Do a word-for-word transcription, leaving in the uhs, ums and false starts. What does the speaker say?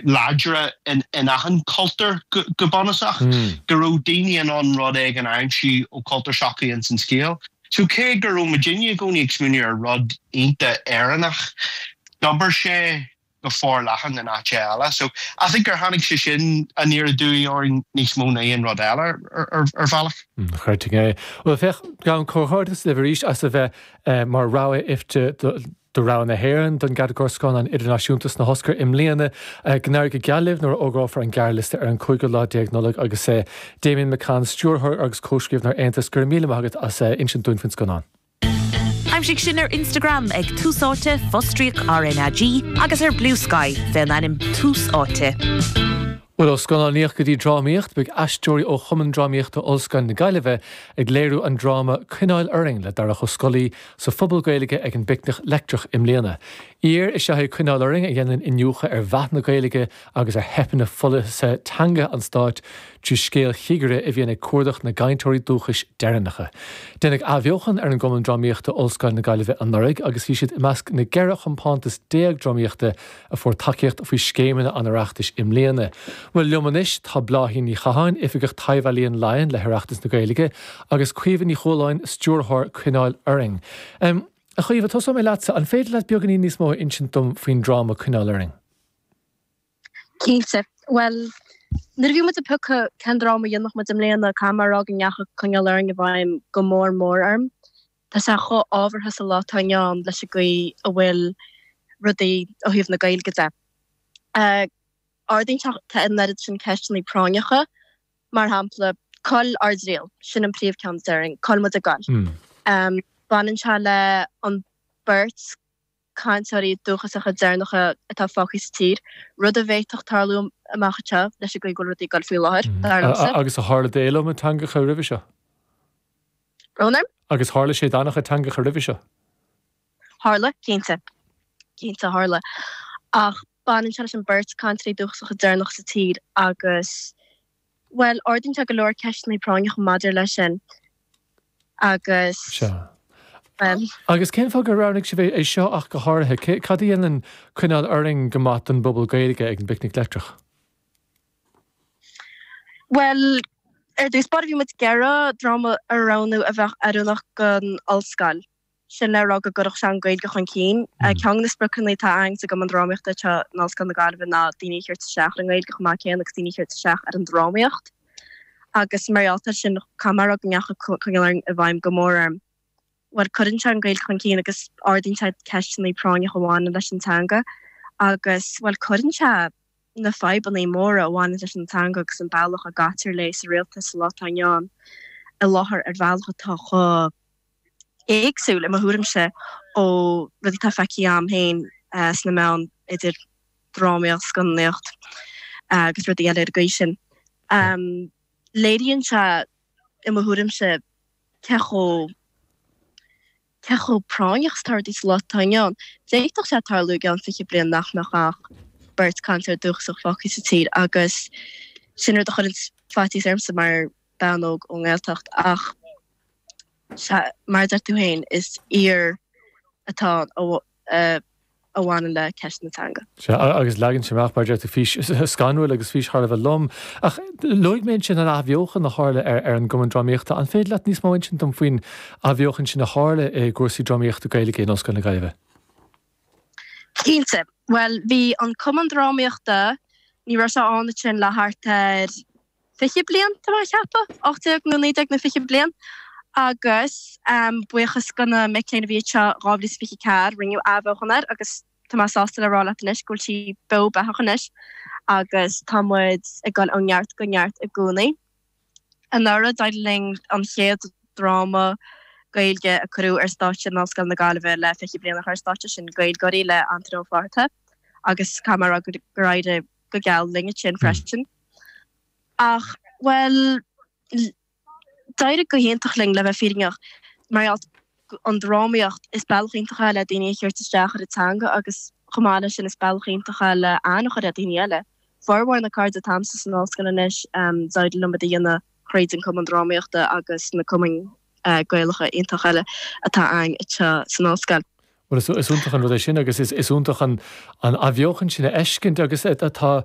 láidre in, in achan cultúr go, go bunúsach mm. go raibh daoine in ann rud éigin a aimsiú ó cultúr s'acu in san scéal. So cé go raibh muidinne i gcónaí ag smaoineamh ar rud iontach Éireannach, d'oibir sé go forleathan in áit eile. So I think gur tháinig sé sin aniar aduaidh orainn níos mó ná aon rud eile ar ar bhealach. Chuirting é. Well féach gabhaim comhghairdeas libh arís as a bheith eh, mar rogha IFTA do rogha na hÉireann don gcatagóir scannán idirnáisiúnta sna hOscair i mbliana go n-éirí go geal libh nuair a fhógrófar an gearrliosta ar an cúigiú lá déag Nollaig agus é Damien McCann stiúrthóir agus comhscríbhneoir Aontas go raibh míle maith agat as insint dúinn faoin scannán. Aimsigh sinn ar Instagram ag Tús Áite fostríoc RnaG agus ar Bluesky fén ainm Tús Áite. Well ó scannánaíocht go dtí drámaíocht beidh aisteoirí ó Chumann Drámaíochta Ollscoil na Gaillimhe ag léiriú an dráma Coinneáil Orainn le Darach Ó Scolaí sa phuball Gaeilge ag an bPicnic Leictreach i mbliana. Aoir is ea Coinneáil Orainn a dhéanann iniúchadh ar mheath na Gaeilge agus ar theipeanna pholasaithe teanga an stáit trí scéal chigire a bhíonn ag cuardach na gcainteoirí dúchais deireanacha. Deineadh athbheochan ar an gCumann Drámaíochta Ollscoil na Gaillimhe anuraidh agus bhí siad i measc na gceithre chompántas déag drámaíochta a fuair tacaíocht faoi scéimeanna an Oireachtais i mbliana. Well liom anois tá Bláithín Ní Chatháin Oifigeach Taibh-Ealaíon Laighean le hOireachtas na Gaeilge agus Caoimhe Ní Chualáin stiúrthóir Coinneáil Orainn. Um, a Chaoimhe tosóidh mé leatsa an féidir leat beagáinín níos mó insint dom faoin dráma Coinneáil Orainn. Cinnte well nuair a bhí muid ag piocadh cén dráma a dhéanfadh muid i mbliana caithfidh mé a rá go ndeachaigh Coinneáil Orainn i bhfeidhm go mór mór orm. Tá sé chomh ábhartha sa lá atá inniu ann leis an gcaoi a bhfuil rudaí ó thaobh na Gaeilge de. Uh, Ardaíonn sé an oiread sin ceisteanna práinneacha, mar shampla cá bhfuil ár dtriall, sin an príomhcheann déarfainn, cá bhfuil muid ag goil. Mm. Baineann sé le an beirt cainteoirí dúchasacha deireanacha atá fágtha sa tír, rud a bhféadfadh tarlú amach anseo leis an gcaoi go bhfuil rudaí ag goil faoi láthair, mm. dar liomsa. Agus a tharla d'iliomad teangacha roimhe seo. Brón orm? Agus tharla sé d'an-chuid teangacha roimhe seo. Tharla, cinnte. Cinnte tharla. Ach baineann sé leis an beirt cainteoirí dúchasacha deireanach sa tír agus bhuel ardaíonn sé go leor ceisteanna práinneacha maidir leis sin agus Sea. bhuel. Agus cén fáth gur roghnaigh sibh é seo ach go háirithe? Cad a dhéanann Coinneáil Orainn go maith don bpuball Gaeilge ag an bPicnic Leictreach? Bhuel, ar dtús báire bhí muid ag iarraidh dráma a roghnú a bheadh oiriúnach don ollscoil. Sin le rá go gcuirfeadh sé an Ghaeilge chun cinn. Ceann de na spriocanna atá againn sa gCumann Drámaíochta anseo in Ollscoil na Gaillimhe ná daoine a thabhairt isteach ar an nGaeilge chomh maith céanna agus daoine a thabhairt isteach ar an drámaíocht. Agus mar gheall air sin, caithfidh mé a rá go ndeachaigh Coinneáil Orainn i bhfeidhm go mór orm. Bhuel, cuireann sé an Ghaeilge chun cinn agus ardaíonn sé ceisteanna práinneacha a bhaineann leis an teanga agus, bhuel, cuireann sé na fadhbanna móra a bhaineann leis an teanga agus an bealach a gcaitear léi sa rialtas sa lá atá inniu ann i láthair ar bhealach atá chomh éagsúil i mo thuairimse ó rudaí atá feicthe agam féin sna meáin idir drámaíocht, scannánaíocht agus rudaí eile ar an gcaoi sin. Léiríonn sé i mo thuairimse cé chomh cé chomh práinneach is atá rudaí sa lá atá inniu ann. D'fhéadfadh sé tarlú i gceann fiche bliain nach mbeadh ach beirt cainteoir dúchasach fágtha sa tír agus sin rud a chuireann faitíos ormsa mar bean óg ón nGaeltacht ach Sea, mar a deir tú féin, is aoir atá ann a bhaineann le ceist na teanga. Sea, agus leagann sé amach, mar a deir tú, fís scanrúil agus fís thar a bheith lom. Ach luaigh mé ansin an athbheochan a tharla ar an gCumann Drámaíochta. An féidir leat níos mó a insint dom faoin athbheochan sin a tharla i gcúrsaí drámaíochta Gaeilge in Ollscoil na Gaillimhe? Cinnte. Bhuel, bhí an Cumann Drámaíochta, ní raibh sé ann ansin le thart ar fiche bliain, tá mé a cheapadh, ocht déag nó naoi déag nó fiche bliain, agus buíochas do na mic léinn a bhí anseo dhá mhíle is fiche a ceathair, rinneadh athbheochan air agus tá mé sásta le rá leat anois go bhfuil sí beo beathach anois agus tá muid ag dul ó neart go neart i gcónaí. Anuraidh d'éirigh linn an chéad dráma Gaeilge a cuireadh ar stáitse in Ollscoil na Gaillimhe le fiche bliain a chur ar stáitse, sin Gaeilgeoirí le Antaine Ó Fátharta agus caithfidh mé a rá gur éirigh go geal linn ansin freisin. Ach, bhuel, d'éirigh go hiontach linn, le bheith fírinneach. Mar gheall an drámaíocht, is bealach iontach é le daoine a thabhairt isteach ar an teanga agus chomh maith leis sin is bealach iontach é le aithne a chur ar dhaoine eile. Formhór na cairde atá a'msa san ollscoil anois, d'éirigh liom iad a dhéanamh thríd an Cumann Drámaíochta agus na cumainn Gaelacha iontach eile atá againn anseo san ollscoil. Bhuel, is iontach an rud é sin agus is iontach an athbheochan sin a fheiscint agus tá